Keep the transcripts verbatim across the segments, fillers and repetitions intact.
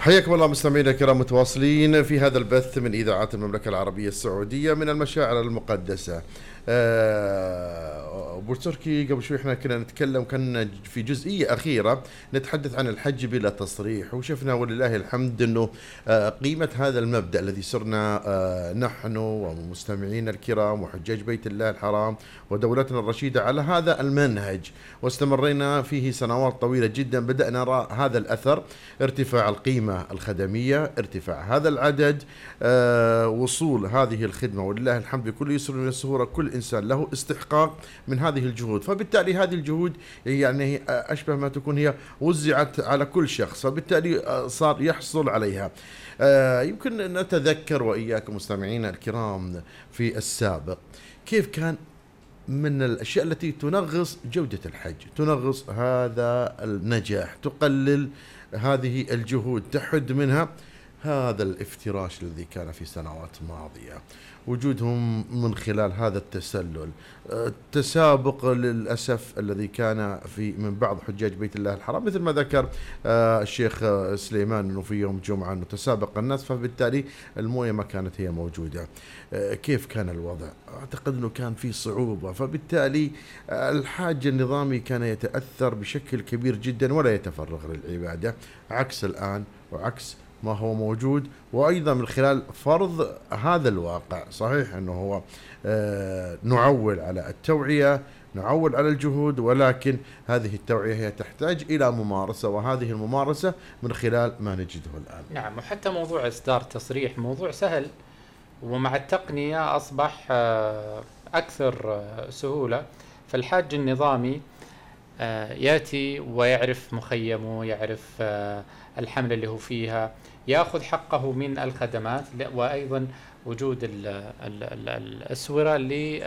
حياكم الله مستمعينا الكرام، متواصلين في هذا البث من إذاعات المملكة العربية السعودية من المشاعر المقدسة. أه أبو تركي، قبل شوي احنا كنا نتكلم، كنا في جزئية أخيرة نتحدث عن الحج بلا تصريح، وشفنا ولله الحمد أنه أه قيمة هذا المبدأ الذي صرنا أه نحن ومستمعين الكرام وحجاج بيت الله الحرام ودولتنا الرشيدة على هذا المنهج، واستمرينا فيه سنوات طويلة جدا. بدأنا نرى هذا الأثر، ارتفاع القيمة الخدمية، ارتفاع هذا العدد، أه وصول هذه الخدمة ولله الحمد بكل يسر من السهولة. كل إنسان له استحقاق من هذه الجهود، فبالتالي هذه الجهود يعني أشبه ما تكون هي وزعت على كل شخص، فبالتالي صار يحصل عليها. أه يمكن نتذكر وإياكم مستمعينا الكرام في السابق كيف كان من الأشياء التي تنغص جودة الحج، تنغص هذا النجاح، تقلل هذه الجهود، تحد منها هذا الافتراش الذي كان في سنوات ماضية، وجودهم من خلال هذا التسلل، التسابق للأسف الذي كان في من بعض حجاج بيت الله الحرام، مثل ما ذكر الشيخ سليمان أنه في يوم جمعة أنه تسابق الناس، فبالتالي الموية ما كانت هي موجودة. كيف كان الوضع؟ أعتقد أنه كان في صعوبة، فبالتالي الحاج النظامي كان يتأثر بشكل كبير جدا ولا يتفرغ للعبادة، عكس الآن وعكس ما هو موجود. وأيضا من خلال فرض هذا الواقع، صحيح أنه هو آه نعول على التوعية، نعول على الجهود، ولكن هذه التوعية هي تحتاج إلى ممارسة، وهذه الممارسة من خلال ما نجده الآن. نعم، وحتى موضوع إصدار تصريح موضوع سهل، ومع التقنية أصبح أكثر سهولة. فالحاج النظامي يأتي ويعرف مخيمه، يعرف الحملة اللي هو فيها، يأخذ حقه من الخدمات، وأيضا وجود ال ال ال الأسورة اللي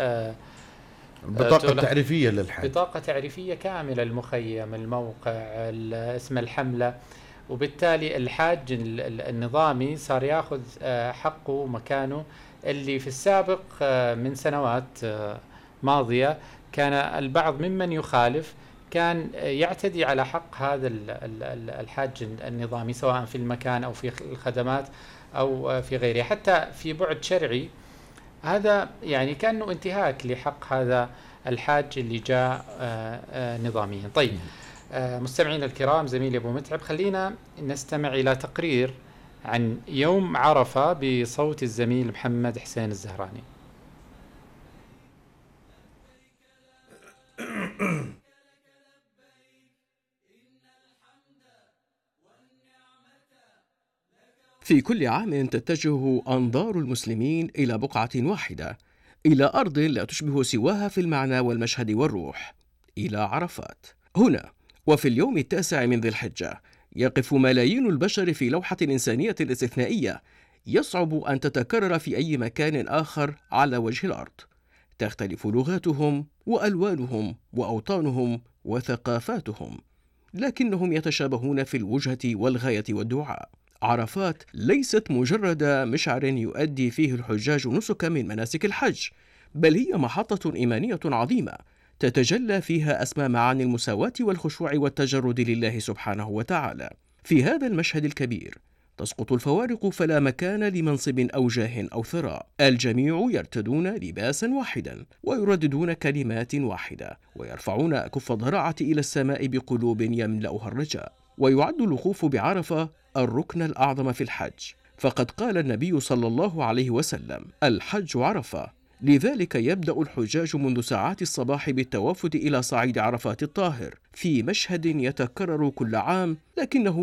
بطاقة تعريفية للحج، بطاقة تعريفية كاملة، المخيم، الموقع، اسم الحملة. وبالتالي الحاج النظامي صار يأخذ حقه ومكانه، اللي في السابق من سنوات ماضية كان البعض ممن يخالف كان يعتدي على حق هذا الحاج النظامي، سواء في المكان أو في الخدمات أو في غيره، حتى في بعد شرعي. هذا يعني كأنه انتهاك لحق هذا الحاج اللي جاء نظاميا. طيب مستمعينا الكرام، زميلي أبو متعب، خلينا نستمع إلى تقرير عن يوم عرفة بصوت الزميل محمد حسين الزهراني. في كل عام تتجه أنظار المسلمين إلى بقعة واحدة، إلى أرض لا تشبه سواها في المعنى والمشهد والروح، إلى عرفات. هنا وفي اليوم التاسع من ذي الحجة يقف ملايين البشر في لوحة إنسانية استثنائية يصعب أن تتكرر في أي مكان آخر على وجه الأرض. تختلف لغاتهم وألوانهم وأوطانهم وثقافاتهم، لكنهم يتشابهون في الوجهة والغاية والدعاء. عرفات ليست مجرد مشعر يؤدي فيه الحجاج نسكا من مناسك الحج، بل هي محطة إيمانية عظيمة تتجلى فيها أسمى معاني المساواة والخشوع والتجرد لله سبحانه وتعالى. في هذا المشهد الكبير تسقط الفوارق، فلا مكان لمنصب أو جاه أو ثراء. الجميع يرتدون لباسا واحدا ويرددون كلمات واحدة ويرفعون كف الضراعة إلى السماء بقلوب يملأها الرجاء. ويعد الوقوف بعرفة الركن الأعظم في الحج، فقد قال النبي صلى الله عليه وسلم: الحج عرفة. لذلك يبدأ الحجاج منذ ساعات الصباح بالتوافد إلى صعيد عرفات الطاهر في مشهد يتكرر كل عام، لكنه